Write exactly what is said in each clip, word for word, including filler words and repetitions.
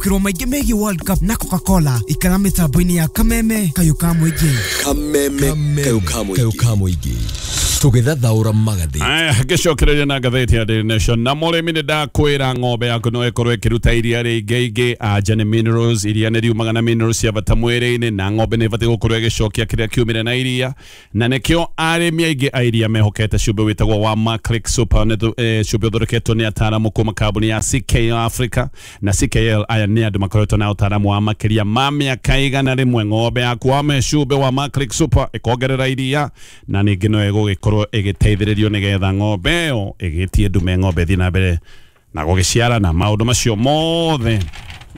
Kirwo maingĩ megiĩ World Cup na Coca-Cola ikara mĩtambo-inĩ ya Kameme kayũ ka mũingĩ. Kameme kayũ ka mũingĩ tũgĩthathaũra magathĩ. Aya, ngĩcokereria na ngathĩti ya Daily Nation. Na mũrĩmi nĩ ndakwĩra ng'ombe yaku no ĩkorwo ĩkĩruta iria rĩingĩ ingĩ anja nĩ minerals, iria nĩ riumaga na minerals cia bata mwĩrĩ-inĩ, na ng'ombe nĩ ĩbatiĩ gũkorwo ĩgĩcokia kĩrĩa kiumire na iria, na nĩkĩo arĩmi aingĩ a iria mehokete cumbĩ wĩtagwo wa Maclick Super, nĩ eh, cumbĩ ũthondeketwo nĩ ataaramu kuma kambuni ya C K L Africa na C K L. Aya nĩ andũ makoretwo na ũtaaramu wa makĩria ma mĩaka igana rĩmwe. Ng'ombe yaku wame cumbĩ wa Maclick Super ĩkongerera iria, na ningĩ no ĩgũgĩkorwo ĩgĩteithĩrĩrio nĩgetha ng'ombe ĩyo ĩgĩtie ndume, ng'ombe ĩthiĩ na mbere na gũgĩciara na maũndũ macio mothe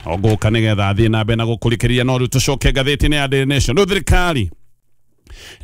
no ngũka nĩgetha athiĩ na mbere na gũkũrikĩria. No rĩu tũcoke ngathĩti-inĩ ya Daily Nation. Rĩu thirikari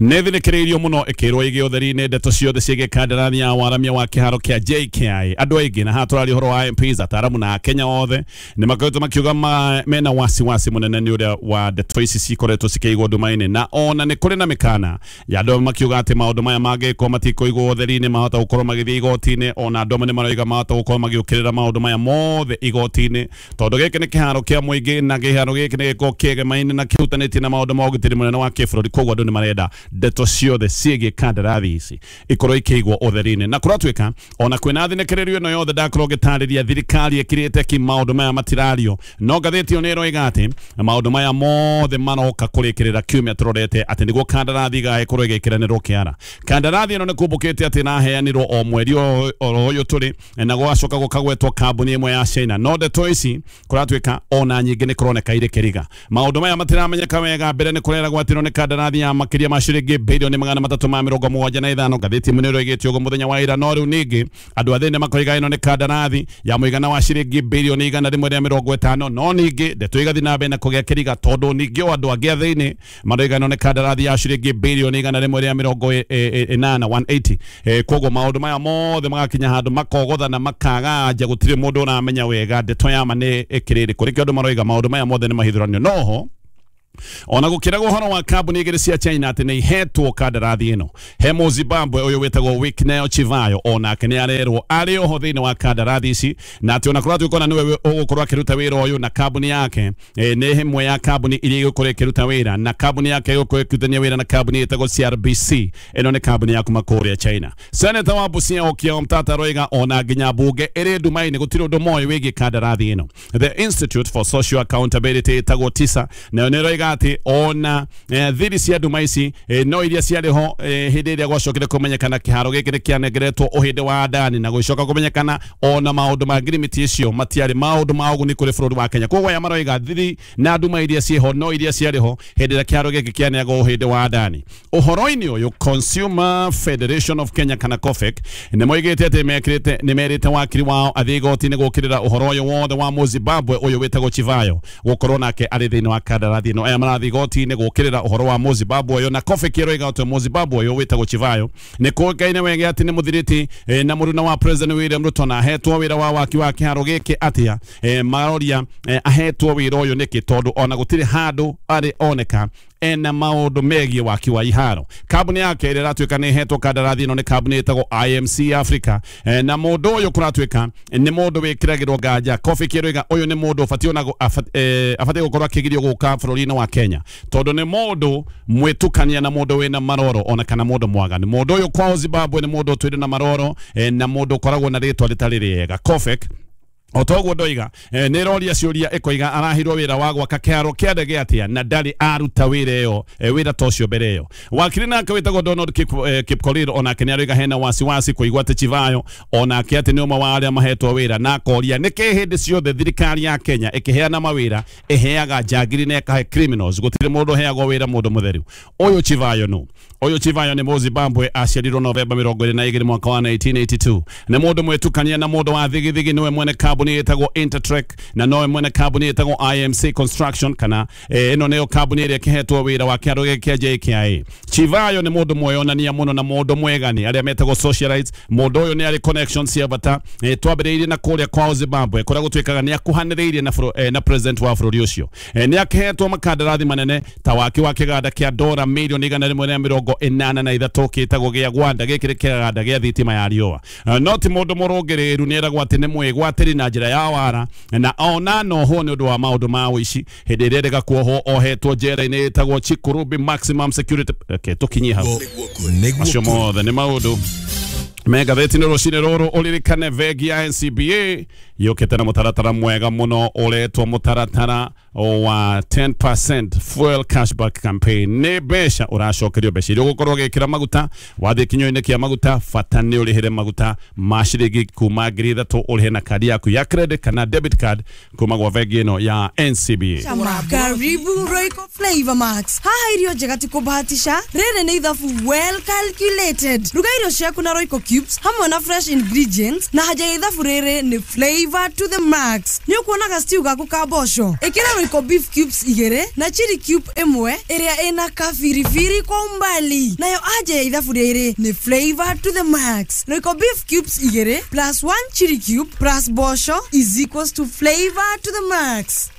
nĩ thinĩkĩrĩirio mũno ĩkĩrwo ĩgĩ ũtheri-inĩ ndeto ciothe ciĩgiĩ kandarathi ya waramia wa kĩharo kĩa J K I. Andũ aingĩ na haha tũraria ũhoro wa M Ps, ataaramu na Akenya othe nĩ makoretwo makiuga ma, mena wasiwasi mũnene nĩ ũrĩa wa ndeto ici cikoretwo cikĩigwo nduma-inĩ, na ona nĩ kũrĩ na mĩkana ya andũ makiuga atĩ maũndũ maya mangĩkwo matikũigwo ũtheri-inĩ mahota gũkorwo magĩthiĩ igoti-inĩ. Ona andũ amwe nĩ maroiga mahota gũkorwo magĩũkĩrĩra maũndũ maya mothe igoti-inĩ, tondũ gĩkĩ nĩ kĩharo kĩa mũingĩ na kĩharo gĩkĩ nĩ gĩkoragwo kĩegemaine na kĩhutanĩtie na maũndũ ma ũgitĩri mũnene wa kĩbũrũri. Koguo andũ nĩ marenda ndeto ciothe ciĩgiĩ kandarathi ici ikorwo ikĩigwo ũtheri-inĩ. Na kũratuĩka ona kwĩna thinĩkĩrĩrio ĩno yothe ndakorwo ngĩtarĩria thirikari ĩkirĩte ki maũndũ maya matirario, no ngathĩti ĩyo nĩ ĩroiga atĩ maũndũ maya mothe maroka kũrĩkĩrĩra kiumia tũrorete atĩ nĩguo kandarathi ĩgagĩkorwo ĩgĩkĩranĩrwo kĩara. Kandarathi ĩno nĩ kumbũkĩte atĩ ĩraheanirwo o mweri oro ũyũ tũrĩ, na gũgacoka gũkagwetwo kambuni ĩmwe ya China, no ndeto ici kũratuĩka ona nyingĩ nĩ kũroneka irĩ kĩriga. Maũndũ maya matiramenyeka wega. Mbere nĩ kũreragwo atĩ ĩno nĩ kandarathi ya makĩria ma ciringi bilioni magana matatũ ma mĩrongo mũgwanja na ithano. Ngathĩti ĩmwe nĩ ĩroigĩte ũguo mũthenya wa ira, no rĩu ningĩ andũ a thĩinĩ makoiga ĩno nĩ kandarathi ya mũigana wa ciringi bilioni igana rĩmwe rĩa mĩrongo ĩtano, no ningĩ ndeto igathiĩ na mbere na kũgĩa kĩriga tondũ ningĩ o andũ angĩ a thĩinĩ maroiga ĩno nĩ kandarathi ya ciringi bilioni igana rĩmwe rĩa mĩrongo ĩnana one eighty. Koguo maũndũ maya mothe magakinya handũ makogothana makaganja, gũtirĩ mũndũ ũramenya wega ndeto ya ma nĩ ĩkĩrĩ ĩrĩkũ. Nĩkĩo andũ maroiga maũndũ maya mothe nĩ mahithũranio. Noho ona gũkĩragwo ũhoro wa kambuni igĩrĩ cia China atĩ nĩ ihetwo kandarathi ĩno, he Mũzimbabwe ũyũ wĩtagwo Wicknell Chivayo onake nĩ arerwo arĩ oho thĩinĩ wa kandarathi ici, na atĩ ona kũratuĩka ona nĩwe ũgũkorwo akĩruta wĩra ũyũ, na kambuni yake e, nĩ ĩmwe ya kambuni iria igũkorwo ĩkĩruta wĩra, na kambuni yake ĩgũkorwo ĩkĩrutithania wĩra na kambuni ĩtagwo C R B C. Ĩno nĩ kambuni ya kuma kũrĩa China. Senator wa Busia Okiya Omtatah aroiga ona nginya mbunge ĩrĩ nduma-inĩ gũtirĩ ũndũ moĩ wĩgiĩ kandarathi ĩno. The Institute for Social Accountability ĩtagwo TISA nayo nĩ ĩroiga atĩ ona eh, thiri cia nduma ici eh, no iria ciarĩ ho eh, hĩndĩ ĩrĩa gwacokire kũmenyekana kĩharo gĩkĩ nĩ kĩanengeretwo ũhĩndĩ wa Adani, na gũcoka kũmenyekana ona maũndũ ma ngirimiti icio matiarĩ maũndũ ma ũguni kũrĩ bũrũri wa Kenya. Koguo aya maroiga thiri na nduma iria ciĩho no iria ciarĩ ho hĩndĩ ĩrĩa kĩharo gĩkĩ kĩaneagwo ũhĩndĩ wa Adani. Ũhoro-inĩ ũyũ Consumer Federation of Kenya kana COFEC nĩ moigĩte atĩ mekĩrĩte nĩ merĩte wakiri wao athiĩ igoti-inĩ gũkĩrĩra ũhoro ũyũ wothe wa Mũzimbabwe ũyũ wĩtagwo Chivayo gũkorwo nake arĩ thĩinĩ wa kandarathi ĩno. Aya marathiĩ igoti-inĩ gũkĩrĩra ũhoro wa Mũzimbabwe ũyũ, na COFEC ĩroiga atĩ Mũzimbabwe ũyũ wĩtagwo Chivayo nĩ kũĩkaine wega atĩ nĩ mũthiriti eh, na mũruna wa President William Ruto, na ahetwo wĩra wa waki wa kĩharo gĩkĩ atĩa. eh, maroria eh, ahetwo wĩra ũyũ nĩkĩ, tondũ ona gũtirĩ handũ arĩ oneka ena maũndũ megiĩ waki wa iharo. Kambuni yake ĩrĩa ĩratuĩka nĩ ĩhetwo kandarathi ĩno nĩ kambuni ĩtagwo I M C Africa, e, na mũndũ ũyũ kũratuĩka nĩ mũndũ wĩkĩragĩrwo nganja. COFEC ĩroiga ũyũ nĩ mũndũ ũbatiĩ ona abatiĩ gũkorwo akĩgirio gũka bũrũri-inĩ wa Kenya, tondũ nĩ mũndũ mwĩtukania na mũndũ wĩna maroro ona kana mũndũ mwaganu. Mũndũ ũyũ kwao Zimbabwe nĩ mũndũ ũtũire na maroro e, na mũndũ ũkoragwo na rĩtwa rĩtarĩ rĩega. COFEC o toguo ndoiga eh, nĩ ĩroria ciũria ĩkoiga arahirwo wĩra wa gwaka kĩharo kĩa ndege atĩa na ndarĩ aruta wĩra ĩyo eh, wĩra ta ũcio mbere ĩyo. Wakiri nake wĩtagwo Donald Kip, eh, Kipkorir onake nĩ aroiga hena wasiwasi kũigua atĩ Chivayo onake atĩ nĩ ũmwe wa arĩa mahetwo wĩra, na akoria nĩkĩ hĩndĩ ciothe thirikari ya Kenya ĩkĩheana mawĩra ĩheaga njangiri na ĩkahe criminals, gũtirĩ mũndũ ũheagwo wĩra mũndũ mũtheru. Ũyũ Chivayo nũ? Ũyũ Chivayo nĩ Mũzimbabwe, aciarirwo Novemba mĩrongo ĩrĩ na igĩrĩ mwaka wa nineteen eighty-two. Nĩ mũndũ mwĩtukania na mũndũ wa thigithigi, nĩwe mwene kambuni ĩtagwo Intertrek na nowe mwene kambuni ĩtagwo I M C Construction, kana ĩno eh, nĩyo kambuni ĩrĩa ĩkĩhetwo wĩra wa kĩharo gĩkĩ kĩa J K I A. Chivayo nĩ mũndũ mweyonania mũno na mũndũ mwegani arĩa metagwo socialites. Mũndũ ũyũ nĩ arĩ connections cia bata. eh, twambĩrĩirie na kũrĩa kwao Zimbabwe kũrĩa gũtuĩkaga nĩ akuhanĩrĩirie na, eh, na president wa bũrũri ũcio. eh, nĩ akĩhetwo makandarathi manene ta waki wa kĩganda kĩa dora milioni igana rĩmwe rĩa mĩrongo ĩnana na ithatũ kĩtagwo gĩa Gwanda, gĩkĩ nĩ kĩganda gĩa thitima ya riũa. No ti mũndũ mũrũngĩrĩru, nĩ eragwo atĩ nĩ mwĩgwatĩri na na njĩra ya wara na ona noho nĩ ũndũ wa maũndũ ma ũici hĩndĩ ĩrĩa endaga kuohwo ohetwo njera-inĩ ĩtagwo Chikurubi Maximum Security. Okay, tũkinyie hau macio mothe nĩ maũndũ megatheti-inĩ rũcinĩ rũrũ. Ũririkane bengi ya N C B A yũkĩte na mũtaratara mwega mũno ũretwo mũtaratara wa ten percent fuel cashback campaign. Nĩ mbeca ũracokerio mbeca iria ũgũkorwo ũgĩkĩra maguta wathiĩ kinyua-inĩ kĩa maguta, bata nĩ ũrĩhĩre maguta ma ciringi kuma ngiri ithatũ ũrĩhe na kadi yaku ya credit kana debit card kuma gwa bengi ĩno ya N C B A. Karibu Royco Flavor Max. Haha irio njega ti kũbahatisha, rĩrĩ nĩ ithabu well calculated. Ruga irio ciaku na Royco cubes hamwe na fresh ingredients na haja ya ithabu rĩrĩ nĩ flavor to the max. Nĩ ũkuonaga stew gaku ka mboco, ĩkĩra Royco beef cubes igĩrĩ na chili cube ĩmwe ĩrĩa ĩna kabiribiri kwa umbali, nayo aja ya ithabu rĩrĩ nĩ flavor to the max. Royco beef cubes igĩrĩ plus one chili cube plus mboco is equals to flavor to the max.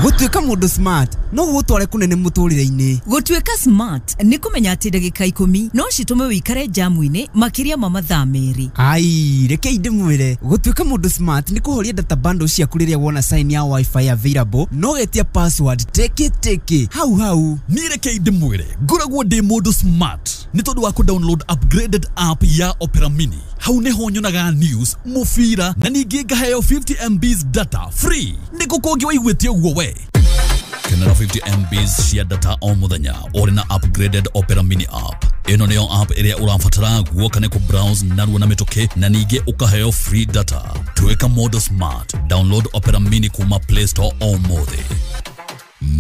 Gũtuĩka mũndũ smart no gũgũtware kũnene mũtũrĩre-inĩ. Gũtuĩka smart nĩ kũmenya atĩ ndagĩka ikũmi no citũme wĩikare jamu-inĩ makĩria ma mathaa merĩ. Ai, rekei ndĩmwĩre, gũtuĩka mũndũ smart nĩ kũhoria data bundle ciaku rĩrĩa wona sign ya wifi available no getia password teke teke hau hau. Niĩ rekei ndĩmwĩre, ngoragwo ndĩ mũndũ smart nĩ tondũ wa kũ-download upgraded app ya Opera Mini. Hau nĩho nyonaga news, mũbira na ningĩ ngaheo fifty M Bs data free. Nĩkũ kũngĩ waiguĩte ũguo we? Kenera fifty M Bs cia data o mũthenya ũrĩ na upgraded Opera Mini app. Ĩno nĩyo app ĩrĩa ũrabatara guoka nĩ kũ-browse narua na mĩtũkĩ na ningĩ ũkaheo free data. Tuĩka mũndũ smart. Download Opera Mini kuma Play Store ũmũthĩ.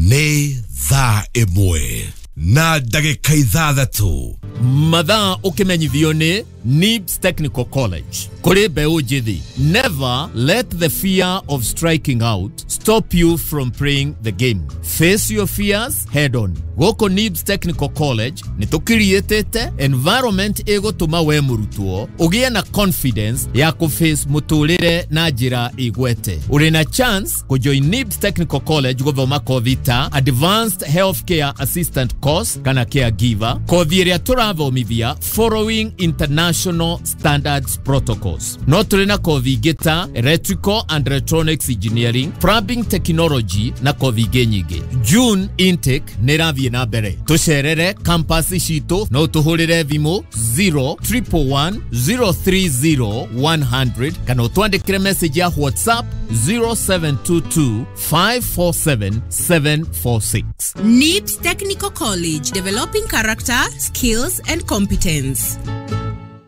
Nĩ thaa ĩmwe na ndagĩka ithathatũ. Mathaa ũkĩmenyithio nĩ Nibs Technical College. Kũrĩ mbeũ njĩthĩ, never let the fear of striking out stop you from playing the game. Face your fears head on. Gũkũ Nibs Technical College nĩ tũkiriĩtĩte environment ĩgũtũma we mũrutwo ũgĩe na confidence ya kũface mũtũrĩre na njĩra ĩgwete. Ũrĩ na chance kũjoin Nibs Technical College gũthoma kothi ta Advanced Healthcare Assistant Course kana Caregiver, kothi ĩrĩa tũrathomithia following international standards protocols. No tũrĩ na kothi ingĩ ta Electrical and Electronics Engineering, Plumbing Technology na kothi ingĩ nyingĩ. June intake nĩ ĩrathiĩ na mbere. Tũcerere campus citũ no tũhũrĩre thimũ zero triple one zero three zero one hundred kana ũtwandĩkĩre message ya WhatsApp zero seven two two five four seven seven four six. Nibs Technical College, developing character, skills and competence.